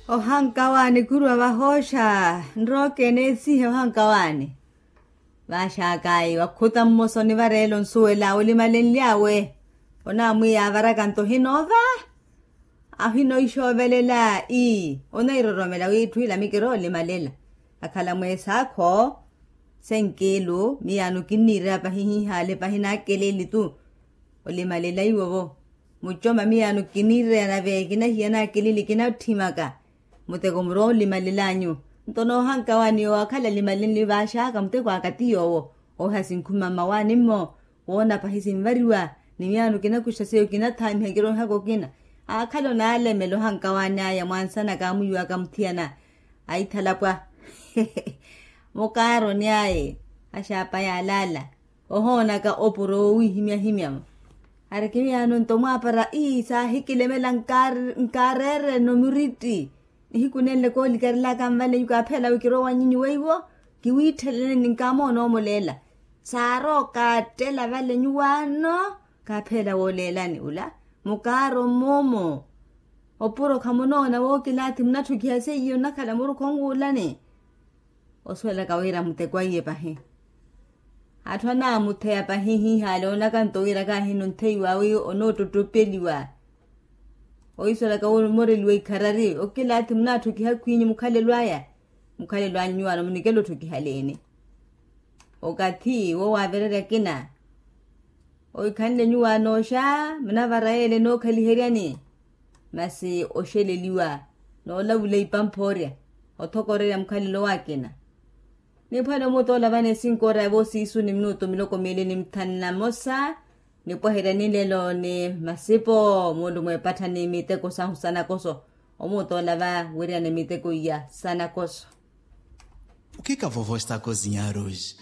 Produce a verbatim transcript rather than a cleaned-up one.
Ohankawaani khuruwa vahooxa nrookene esihe ohankawaani. Vaaxaakaayi wakhuta mmosa onivareela onsuwela olimalenly'awe. Onaamwiya avaraka nto ohinoova ahinoixoovelela ii onairoromela wiitthu ila mikiro olimalela. Akhala mweesaakho senkiilu miyaano kinniireya pahi hihaale pahi naakeleli tu. Olimalela iwovo mucoma miyaano kinniireya nave kinahiya naakeleli kinatthimaka. Muteko murowa olimalel'anyu nto noohankawaani yoowo akhala alimalenle vaaxaaka muteko aka ti yoowo. Ooha sinkhuma mmawaani-mmo woona pahi sinvariwa ni miyaano kinakuxa seiyo kinathaamiha kiroihaka okina. Aakhala onaalemela ohankawaani aya mwansana kaamwiiwaka muthiyana aithalapwa. Mukaaroni aye axaapa yaalaala ohoonaka opuro woowihimyahimya-mo. Ari kimiyaano nto mwaapara ii saahikilemela nkaareereno muritti. Nihiku nenle koolikarelaka nvale nyuwo kaaphela wi kirowa nyinyu weiwo kiwiitheleleni nkaamoona omuleela. Saarowa okaattela vale nyuwaano kaaphela wooleelani ula mukaaro mmoomo. Opuro khamunoona wookilaathi munatthukiha seiyo nnakhala murukhu onwuulani. Osuwelaka wira muteko aiye pahi atthu anaamutheya pahi hihaale oonaka nto wira kaahino ntheiwa wi onootottopeliwa. Oisuwelaka wi omoreliwa ikharari okilaathi munaatthukiha khwiinyi mukhalelo aya. Mukhalelo anyu nyuwaano munikela otthukihaleeni okathi wo waavererya akina. Oikhanle nyuwaano oxa munavara yeela enookhaliheryani. Masi oxeleliwa noolavula ipamphoorya othokorerya mukhalelo w'akina. Niphwale omuuta olavana esinkoora ya voosiisu ni minutu miloko miili ni mithanu na mosa. Nipweherya nilelo ni masipo muulumwa epattha ni miteko sahu sanakoso. Omuuta olava wiriyana miteko iya sanakoso. O que que a vovó está a cozinhar hoje?